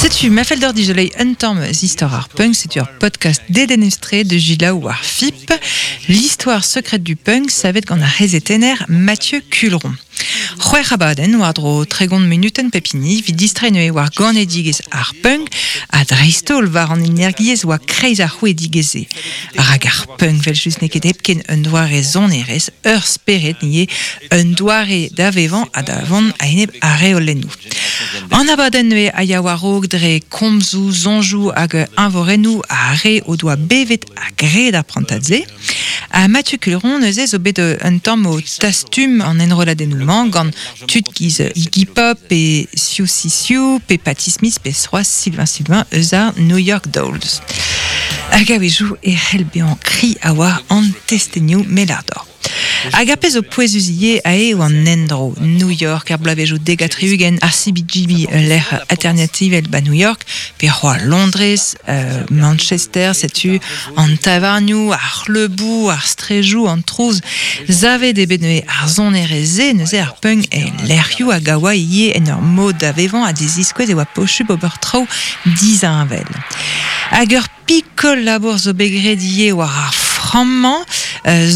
Setu, ma fell deoc'h dizoleiñ un tamm eus istor ar punk, setu ur podcast dedennus-tre de Gilaou war FIP, L'histoire secrète du punk, savet gant ar c'hezetenner Mathieu Culron. C'hwec'h abadenn war-dro 30 munutenn pep hini evit distreiñ neuze war ganedigezh ar punk ha dreist-holl war an energiezh oa kreiz ar c'hrouidigezh-se. Rak ar punk 'vel-just n'eo ket hepken un doare sonerezh, ur spered ivez, un doare da vevañ ha da vont a-enep ar reolennoù. An abadenn neuze a ya war-raok dre komzoù, soñjoù hag eñvorennoù ar re o doa bevet ha graet ar prantad-se. Ha Mathieu Culeron neuze zo bet un tamm o tastum an enrolladennoù-mañ gant tud giz Iggy Pop pe Siouxsie Sioux pe Patti Smith pe c'hoazh Sylvain Sylvain eus ar New York Dolls. Hag a-wezhioù e c'hell bezañ kri a oa an testenioù melardor. Hag ar pezh zo pouezus ivez aze eo an endro. New York er bloavezhioù 70, ar CBGB, ul lec'h alternativel ba New York, pe c'hoazh Londrez, Manchester, setu an tavarnioù, ar c'hleuboù, ar strejoù, an trouz. Savet eo bet neuze ar sonerezh-se, neuze ar punk e lec'hioù hag a oa ivez en ur mod da vevañ ha da ziskouez e oa posupl ober traoù disheñvel. Hag ur Pikol labour zo bet graet ivez war ar frammañ,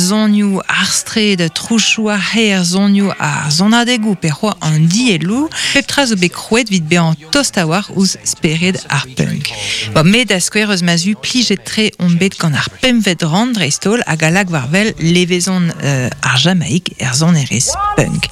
sonioù ar straed, trouchoù ar c'hêr, sonioù ar sonadegoù pe c'hoazh an dielloù. Pep tra zo bet krouet evit bezañ tost a-walc'h ouzh spered ar punk. Bon, me da skouer eus ma zu plijet-tre on bet gant ar pempvet rann dreist-holl hag a lak war-wel levezon ar Jamaik er sonerezh punk.